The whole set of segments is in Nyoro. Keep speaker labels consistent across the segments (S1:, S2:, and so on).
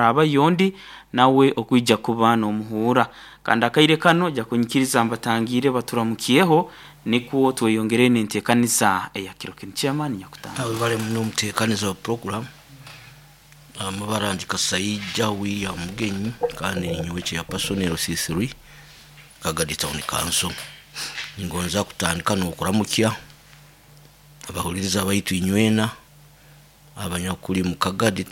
S1: Harabayo ondi nawe okwija kuba n'omuhuura kandi akaire kano ojja kunyikiriza mbatangiire baturamukyeho nikwo tweyongere n'enteekaniza eya kiro kinu. Chairman nyakutanga.
S2: Abo bali muno omuteekaniza wa program amabara ndi Kasaija William Mugenyi kandi ninyowe chairperson LC3 Kagadi Town Council. Ningonza kutandika n'okuramukya abahuliriza baitu inywena abanyakuli mu Kagadi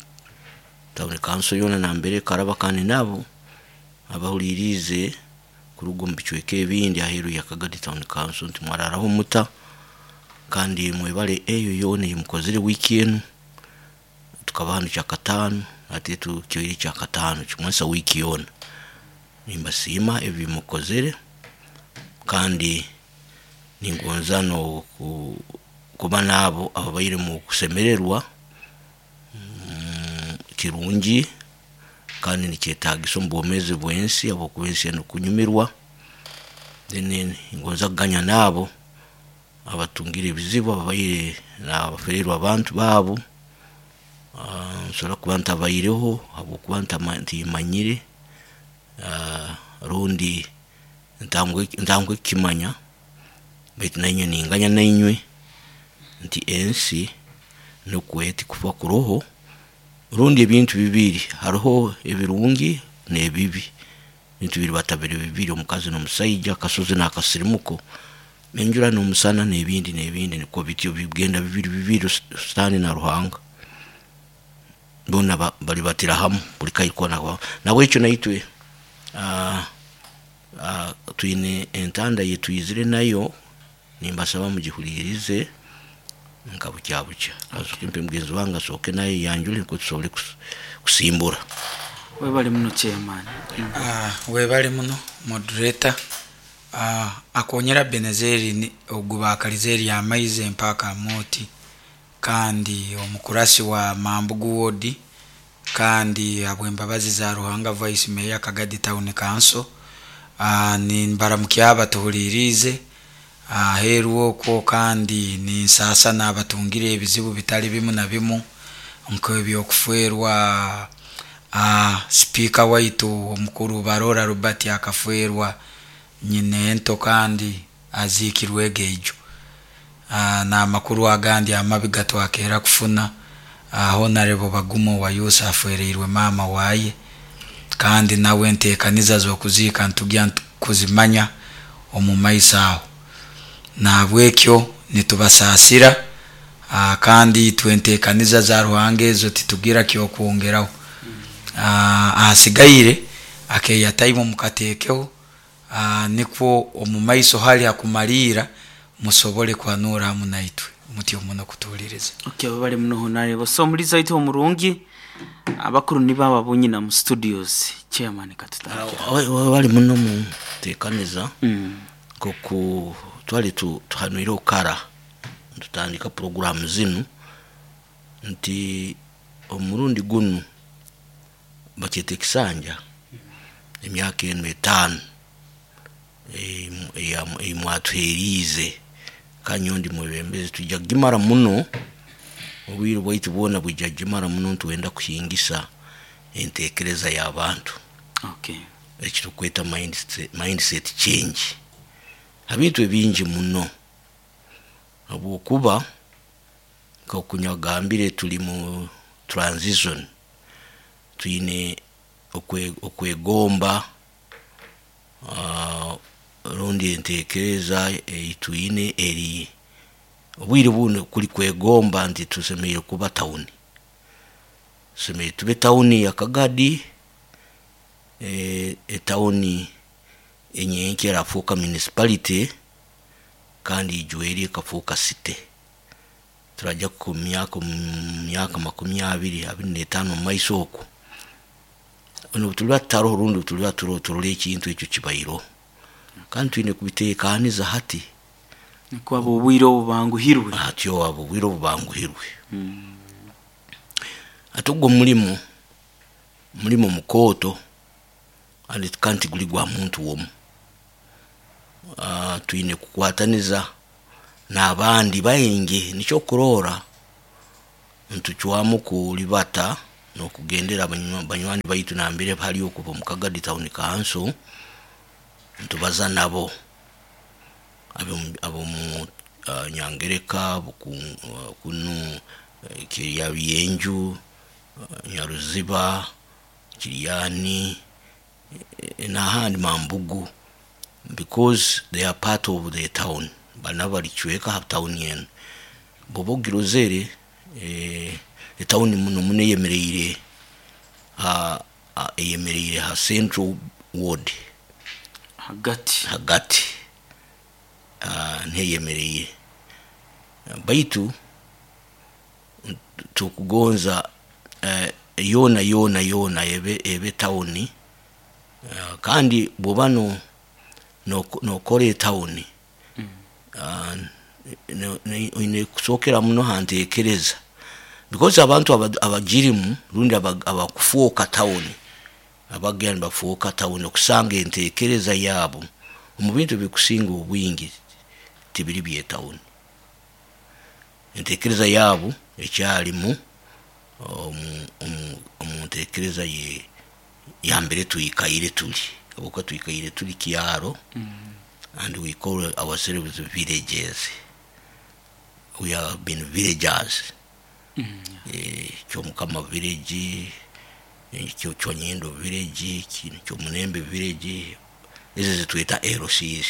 S2: Town Council yoona nambere ekaraba kandi nabo abahuliriize kuruga omu bicweka ebindi aheeru ya Kagadi Town Council nti mwararaho muta kandi mwebale eyo yoona eyimukozire wiiki enu. Tukaba hanu Kyakataano, hati tukyoire Kyakataano kimanyisa wiiki yoona. Nimbasiima ebi mukozere kandi ningonza n'okuba n'abo ababaire mu kusemererwa kirungi kandi nikyetagisa omu bwomeezi bw'ensi habwokuba ensi enu kunyumirwa. Then ningonza kuganya n'abo abatungire ebizibu, ababaire nabaferiirwe abantu baabu. Nsobora kuba ntabaireho habwokuba timanyire rundi ntanguhe kukimanya, baitu nainywe ninganya nainywe nti ensi nikwo eti kufwa kuroho rundi ebintu bibiri, haroho ebirungi n'ebibi, ebintu biribata biri bibiri omukazi n'omusaija, akasozi n'akasirimuko, enjura n'omusana n'ebindi n'ebindi nikwo bityo bigenda bibiri bibiri sitaani na Ruhanga boona balibatira hamu buli kaire koona. Nahabwekyo naitwe twine entanda eyitwizire nayo, nimbasaba mugihuliirize nka bukya bukya. Kansooke mpe mugenzi wange asooke nawe ayeyanjule nukwo tusobole kusimbura.
S1: Webale muno chairman.
S3: Webale muno moderator. Akonyera Benezeri ogu bakalize erya amaizi empaka Amooti kandi omukurasi wa Mambugu ward kandi habwembabazi za Ruhanga Vice Mayor Kagadi Town Council. Nimbaramukya abatuhuliriize aheeru okwo kandi ninsasa n'abatungire ebizibu bitali bimu na bimu nk'ebyokufwerwa sipiika waitu omukuru Barora Robert akafwerwa nyina ento kandi aziikirwe ego eijo. N'amakuru agandi amabi gatwakera kufuna Honorable Bagumo wa Yusa afwereirwe maama waye kandi nawe enteekaniza z'okuziika ntugya kuzimanya omu maiso aho. Nahabwekyo nitubasaasira kandi itwe enteekaniza za Ruhanga ezo titugira kyokwongeraho. Ahasigaire akeeya time mukateekeho nikwo omu maiso hali hakumaliira musobole kuhanuura hamu naitwe. Mutyo muno kutuhuliriza.
S1: Okay, webale muno Honorable. So omulizi waitu omurungi, abakuru nibo abo abonyina mu studios. Chairman katutandikire.
S2: Webale muno mutekaniza nkoku twali tuhanwireho kara nitutandika puroguramu zinu nti omurundi gunu bakyeta ekisanja emyaka enu etaano eyi mwatuheriize kandi nyowe ndi mwebembezi twija kugimara muno, obwire bwaitu bwona bwija kugimara muno nitwenda kuhingisa entekereza y'abantu. Eki turukweta mindset change ha bintu ebingi muno habwokuba nkoku nagambire tuli mu transition, twine okwegomba rundi entekereza eyitwine eri obwire bunu kuli kwegomba nti tusemeriire kuba tawuni, tusemeriire tube tawuni ya Kagadi, etawuni enyenkya erafooka municipality kandi ijweri ekafooka city. Turajya ku myaka makumi abiri, abiri n'etaano omumaiso oku, obu tuliba tutaroho rundi obu tuliba turoho turole ekintu ekyo kibaireho kandi twine kubitekaniza hati.
S1: Nikwo abo obwire obu banguhirwe.
S2: Hatyo abo obwire obu banguhirwe. Hati ogu omulimo, mulimo mukooto kandi tiguli gwa muntu omu. Twine kukwataniza n'abandi baingi, nikyo okurorra nitucwamu kulibata. N'okugendera banywani baitu nambere hali okuba omu Kagadi Town Council, ntubaza nabo abomu Nyangereka, kunu Kirya Byenju, Nyaruziba, Kiryani n'ahandi Mambugu, because they are part of the town, bana balicweka ha town enu. Bwoba ogirozere, etawuni muno muno eyemereire eyemereire ha central ward.
S1: Hagati.
S2: Hagati niho eyemereire, baitu tukugonza yoona yoona yoona ebe tawuni. Kandi bwoba nokora etawuni, oine kusookera muno ha ntekereza, because abantu abagirimu rundi abakufooka tawuni, abagenda nibafooka tawuni, okusanga entekereza yaabo omu bintu ebikusinga obwingi tibiri by'etawuni. Entekereza yaabo ekyarimu omu ntekereza yambere twikaire tuli, habwokuba twikaire tuli kyaro and we call ourselves villages, we have been villagers. Kyomukama village, Kyonyindo village, Kyomunembe village, ezo ezitweta LCs.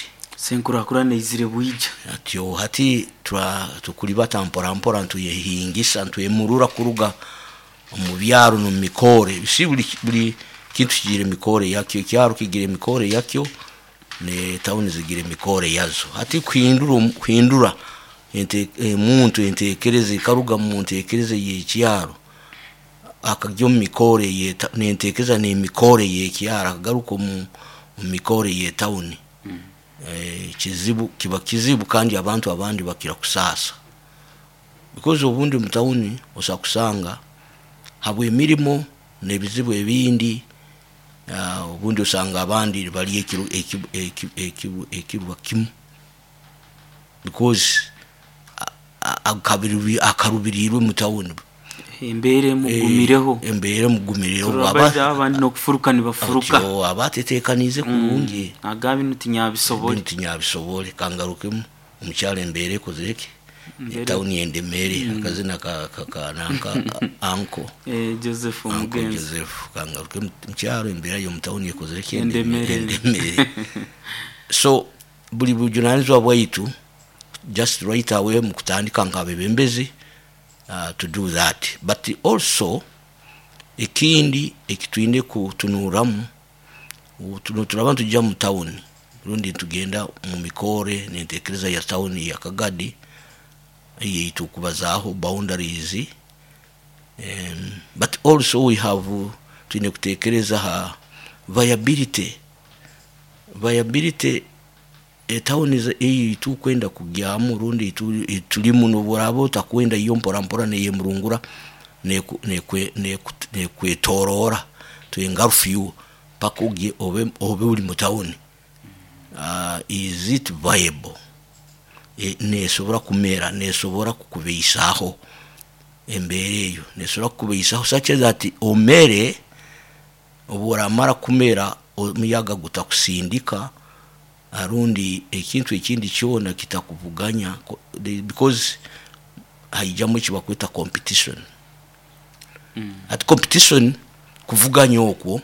S1: Enkurakurana eizire bwija.
S2: Atyo hati tukulibata mpora mpora, ntwehingisa, ntwemurura kuruga omu byaro n'omu mikoore. Si buli kintu kigira emikoore yakyo, ekyaro kigira emikoore yakyo, n'etawuni zigira emikoore yazo. Hati kuhindura omuntu entekereza ekaruga mu ntekereza ey'ekyaro akagya omu mikoore, nentekereza n'emikoore y'ekyaro, akagaruka omu mikoore y'etawuni, kizibu, kiba kizibu, kandi abantu abandi bakira kusaasa, because obundi mu tawuni osobola kusanga habw'emirimo n'ebizibu ebindi, obundi osanga abandi nibalya ekirwa kimu, because akarubirirwe mu tawuni.
S1: Embeera emugumireho.
S2: Embeera emugumireho.
S1: Abandi n'okufuruka nibafuruka.
S2: Aba atetekaniize kurungi.
S1: Agamba binu tinyabisobole.
S2: Binu tinyabisobole, kangarukemu omukyaro embeera ekozire ki, etawuni endemere, akazina ka anko
S1: Joseph.
S2: Uncle.
S1: Omugenzi.
S2: Joseph, kangaruke mukyaro, embeera y'omu ekozire ki?
S1: Endemere.
S2: Endemere. So buli bujunanizibwa bwaitu just right away mu kutandika nk'abebembezi to do that. But also ekindi ekitwine kutunuramu, turaba nitujya mu tawuni rundi nitugenda mu mikoore n'entekereza ya tawuni ya Kagadi eyeitu okubazaaho boundaries, but also we have twine kutekereza ha viability. Viability etawuni eyi tukwenda kugyamu rundi tulimu, n'obworaaba otakwenda, yo mpora mpora neyemurungura, nekwetoroora to engulf you paka ogye obe ori mu tawuni. Is it viable? Nesobora kumera, nesobora kukubeisaho? Embeera eyo nesobora kukubeisaho such that omere, obu oramara kumera omuyaga gutakusindika rundi ekintu ekindi kyona kitakuvuganya, because haijamu eki bakweta competition. Hati competition, kuvuganya okwo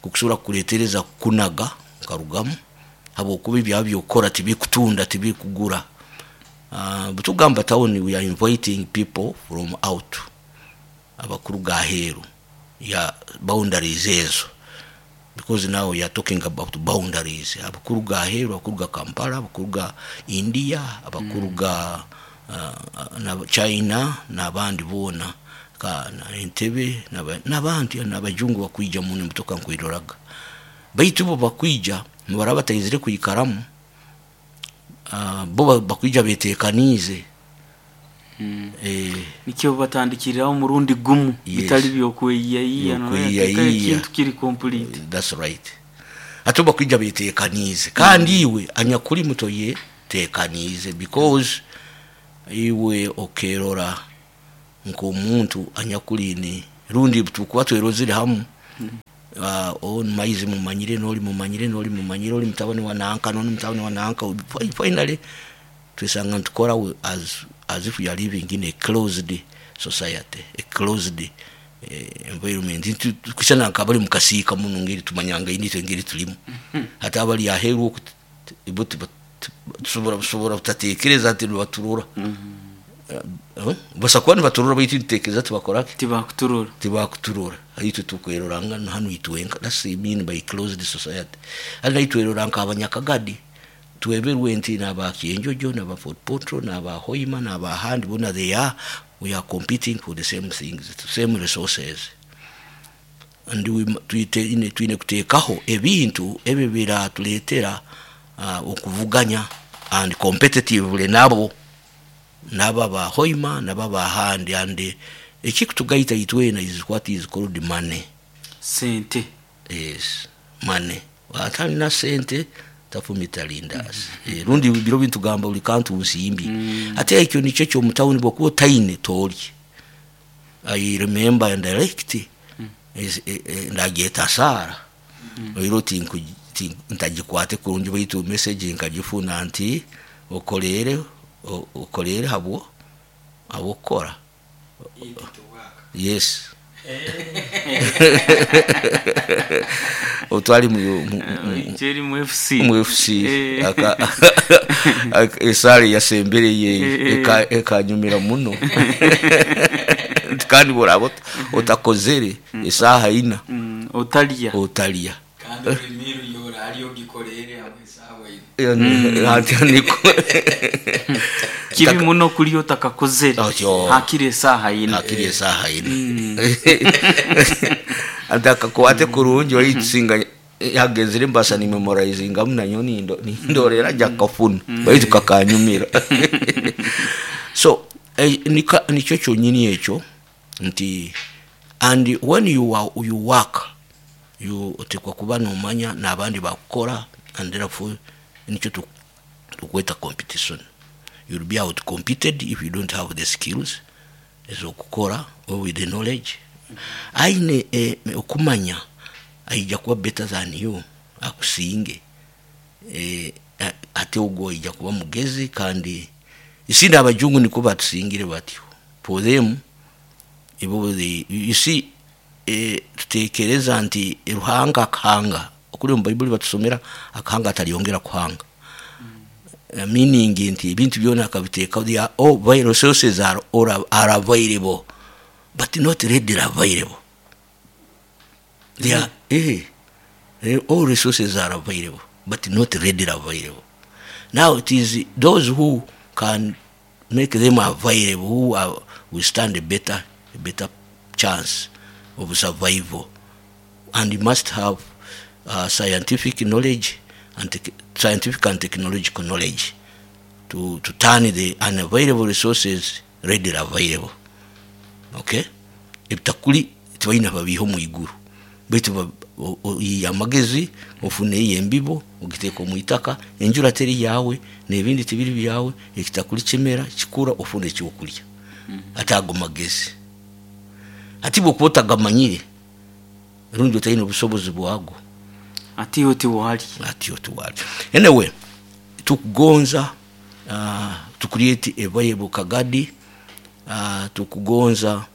S2: kukusobora kukuletereza kukunaga okarugamu, habwokuba ebyawe byokukora tibikutunda, tibikugura. Bwetugamba town, we are inviting people from out, abakuruga aheeru ya boundaries ezo, because now we are talking about boundaries, abakuruga aheeru, abakuruga Kampala, abakuruga India, abakuruga China n'abandi boona, na Entebe n'abandi n'abajungu bakwija muno, emotoka nkwiroraga, baitu bo bakwija nibaraba bataizire kwikaramu, bo bakwija betekaniize.
S1: Nikyo batandikiriraho omurundi gumu.
S2: Yes.
S1: Bitali byokweyiyayiya.
S2: Byokweyiyayiya.
S1: Ekintu kiri complete.
S2: That's right. Ate bakwija betekaniize, kandi iwe anyakuli muto ye tekaniize, because iwe okerora nk'omuntu anyakuliine. Rundi tukuba twerozire hamu, onu maizi mumanyire, noli mumanyire, noli mumanyire, oli mutabani wa nanka, noli mutabani wa nanka. Finally twesanga nitukora as if we are living in a closed society, a closed environment. Kusana nkabali mukasiika muno ngeri tumanyanga initwe ngeri tulimu. Hata abali aheru oku ibo tusobora butatekereza nti nibaturora. Basa kuba nibaturora, baitu nitutekereza tibakoraki,
S1: tibakuturora.
S2: Tibakuturora. Itwe tukweroranga hanu itwenka. That's the mean by closed society. Hali naitwerora nk'abanyakagadi, tweberwe nti n'aba Kyenjojo, n'aba Fort Portal, n'aba Hoima, n'abahandi bona they are we are competing for the same things, the same resources. And we twine kuteekaho ebintu ebyo biratuleetera okuvuganya and competitively nabo, nabo aba Hoima, nabo abahandi. And ekikutugaita itwena is what is called money.
S1: Sente.
S2: Yes, money. Atalina sente tafumita lindazi. Rundi biro bintugamba buli kantu nsimbi. Ate ekyo nikyo kyomutawuni, bwokuba otaine toolye. I remember and direct ndagyeta saara oiro ntagikwate kurungi, baitu message nkagifuna nti okolere okolere habwo habwokukora. Yes, otwali
S1: Jerry mu FC.
S2: Mu FC. Esaala yasembereye ekanyumira muno. Nti kandi bworaba otakozere esaaha ina,
S1: otalya.
S2: Otalya.
S3: Kandi buli miru yora ali ogikorere hamwe esaawa ino.
S2: Ati niko
S1: kibi muno kulya otakakozere.
S2: Otyo.
S1: Hakiri esaaha ina.
S2: Hakiri esaaha ina. Ati akakwate kurungi, waitusinga yagenzire mbasa ni memorizingamu nanyo nindorera jakafuna, baitu kakanyumira. So nikyo kyonyini ekyo nti and when you are, you work, you otekwa kuba nomanya n'abandi bakukora, and therefore nikyo tukweta competition. You'll be out competed if you don't have the skills ezokukora or with the knowledge. Aine okumanya aija kuba better than you, akusinge. Ate ogwo aija kuba mugezi. Kandi isindi abajungu niko batusingire batyo. For them ibo you see, tutekereza nti Ruhanga akahanga, okuli mu Baibuli batusomera akahanga atalyongera kuhanga. Meaning nti ebintu byona akabiteeka, they are all resources are all are available but not readily available. They are all resources are available but not readily available. Now it is those who can make them available who will stand a better chance of survival. And you must have scientific knowledge and scientific and technological knowledge to turn the unavailable resources readily available. Okay, ebitakuli tibalina babiiha omu iguru, baitu oyiya amagezi, ofune eyo embibo, ogiteeka omu itaka, enjura teri yawe n'ebindi tibiri byawe, ekitakuli kimera kikura, ofune ekyokulya. Ate ago magezi ati bwokuba otagamanyire rundi otalina obusobozi bwago,
S1: ati iwe tiwali.
S2: Atyo tuwali. Anyway, tukugonza to create a viable Kagadi. Tukugonza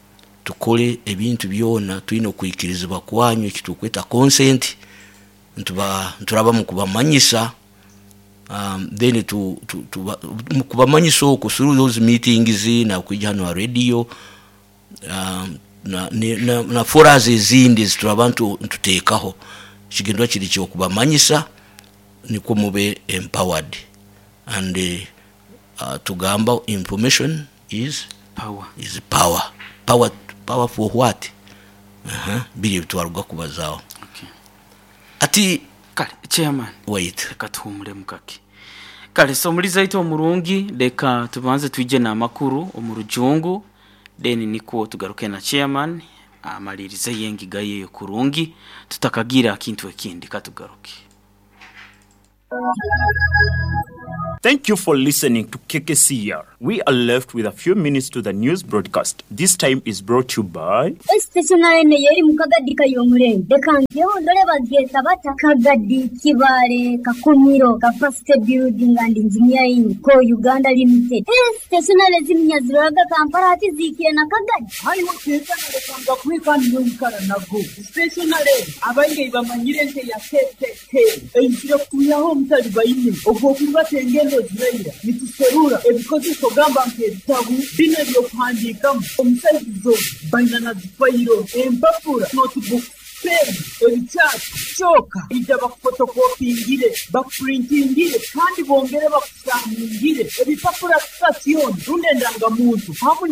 S2: tukole ebintu byona tulina okwikirizibwa kwanyu, ekitukweta consent. Ntuba nturaba mu kubamanyisa, then mu kubamanyisa okwo through those meetings na kwijja hano ha radio, na forums ezindi zituraba ntuteekaho. Ekigendwa kiri kyokubamanyisa nikwo mube empowered. And tugamba information is
S1: power.
S2: Is power. Power, power for what? Biri ebitwaruga kubazaaho.
S1: Okay.
S2: Ati
S1: Kale chairman,
S2: wait.
S1: Reka tuhumuremu kake. Kale, so omulizi aitu omurungi, leka tubanze twije n'amakuru omu rujungu, then nikwo tugaruke na chairman amalirize yengiga yeyo kurungi tutakagira kintu ekindi. Katugaruke.
S4: Thank you for listening to KKCR. We are left with a few minutes to the news broadcast. This time is brought to you by
S5: Stationary eno yeri mu Kagadi kayomurenge, reka ngeho ndore bagyeta bata Kagadi, Kibale, Kakumiro, Capacity Building and Engineering Co Uganda Limited. Stationary ziminyaziraga Kampala ati zikire na Kagadi.
S6: Hariho tetanalekanga kweka niyoikara nago stationary abaingi bamanyire nte ya KKK eizire kutuyaho omutali baine ogwokuba engendo ziraira nituserura ebikozeso gamba nk'ebitabu bino ebyokuhandiikamu omusaizizo baina na zifayiro, empapura, notebook, pen, ebikyapa kyoka ija bakufotokopingire, bakupurintingire kandi bongere bakusaningire ebipapura sasiyoni rundi endangamuntu hamu.